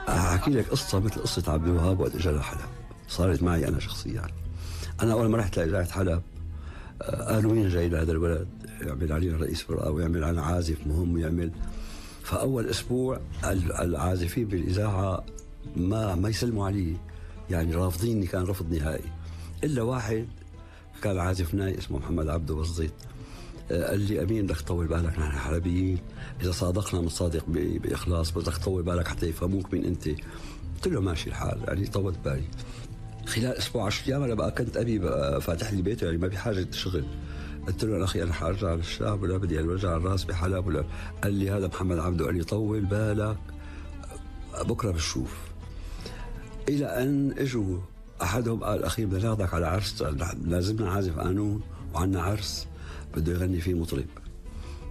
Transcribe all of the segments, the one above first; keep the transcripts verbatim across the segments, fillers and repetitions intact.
أحكي لك قصة مثل قصة عبد الوهاب وقت إجا لحلب، صارت معي أنا شخصيا. أنا أول ما رحت لإذاعة حلب قالوا مين جاي لهذا الولد يعمل علينا رئيس فرقة ويعمل علينا عازف مهم ويعمل. فأول أسبوع العازفين بالإذاعة ما ما يسلموا علي، يعني رافضيني، كان رفض نهائي. إلا واحد كان عازف ناي اسمه محمد عبده بسيط، قال لي أمين بدك تطول بالك، نحن حلبيين إذا صادقنا بنصادق بإخلاص، بدك تطول بالك حتى يفهموك مين أنت. قلت له ماشي الحال، يعني طولت بالي. خلال أسبوع عشر أيام أنا بقى كنت أبي بقى فاتح لي بيته، يعني ما بحاجة شغل. قلت له أخي أنا حارجع للشام ولا بدي أرجع الراس بحلب ولا. قال لي هذا محمد عبده، قال لي طول بالك بكرة بشوف. إلى أن إجوا أحدهم قال أخي بدنا ناخذك على عرس، لازمنا عازف قانون وعنا عرس بده يغني فيه مطرب.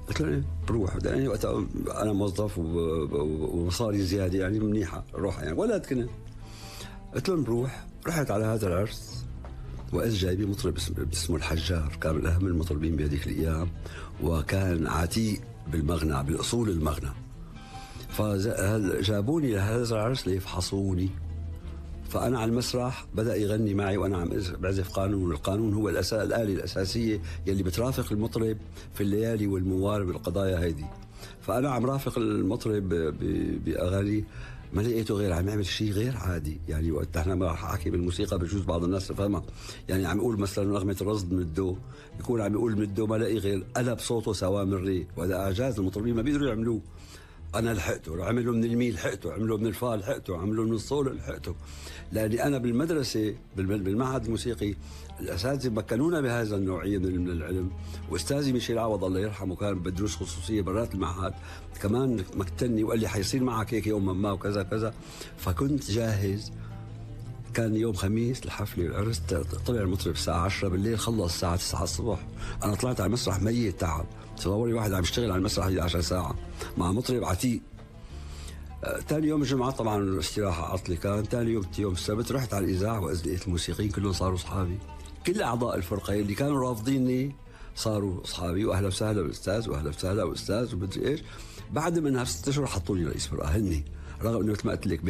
قلت له بروح، يعني وقتها أنا موظف ومصاري زيادة يعني منيحة روح، يعني ولد كنت. قلت له نروح. رحت على هذا العرس وإذ جايبي مطرب اسمه الحجار، كان من أهم المطربين بهذيك الأيام، وكان عتيق بالمغنى بالأصول المغنى. فجابوني لهذا العرس ليفحصوني. فأنا على المسرح بدأ يغني معي وأنا عم بعزف قانون. القانون هو الأساس، الآلة الأساسية يلي بترافق المطرب في الليالي والموال والقضايا هيدي. فأنا عم رافق المطرب بأغاني ما لقيته غير عم يعمل شيء غير عادي. يعني وقت احنا ما رح احكي بالموسيقى بجوز بعض الناس تفهمها، يعني عم يقول مثلا نغمة الرصد من الدو، يكون عم يقول من الدو ما لاقي غير قلب صوته سوا من ري، وهذا اعجاز المطربين ما بيقدروا يعملوه. انا لحقته، عمله من المي لحقته، عمله من الفا لحقته، عمله من الصول لحقته. لاني انا بالمدرسه بالمعهد الموسيقي الاساتذه مكنونا بهذا النوعيه من العلم، واستاذي ميشيل عوض الله يرحمه كان بدروس خصوصيه برات المعهد كمان مكتني وقال لي حيصير معك هيك يوم ما وكذا كذا. فكنت جاهز. كان يوم خميس الحفله العرس، طلع المطرب الساعه عشرة بالليل، خلص الساعه تسعة الصبح. انا طلعت على المسرح ميت تعب. تصوري واحد عم يشتغل على المسرح عشر ساعة مع مطرب عتيق. ثاني يوم الجمعة طبعا استراحة عطلة كان. ثاني يوم يوم السبت رحت على الإذاعة وإذ لقيت الموسيقيين كلهم صاروا أصحابي. كل أعضاء الفرقة اللي كانوا رافضيني صاروا أصحابي، وأهلا وسهلا بالأستاذ وأهلا وسهلا بالأستاذ ومدري إيش. بعد منها بست أشهر حطوا لي رئيس فرقة هني، رغم إنه مثل ما قلت لك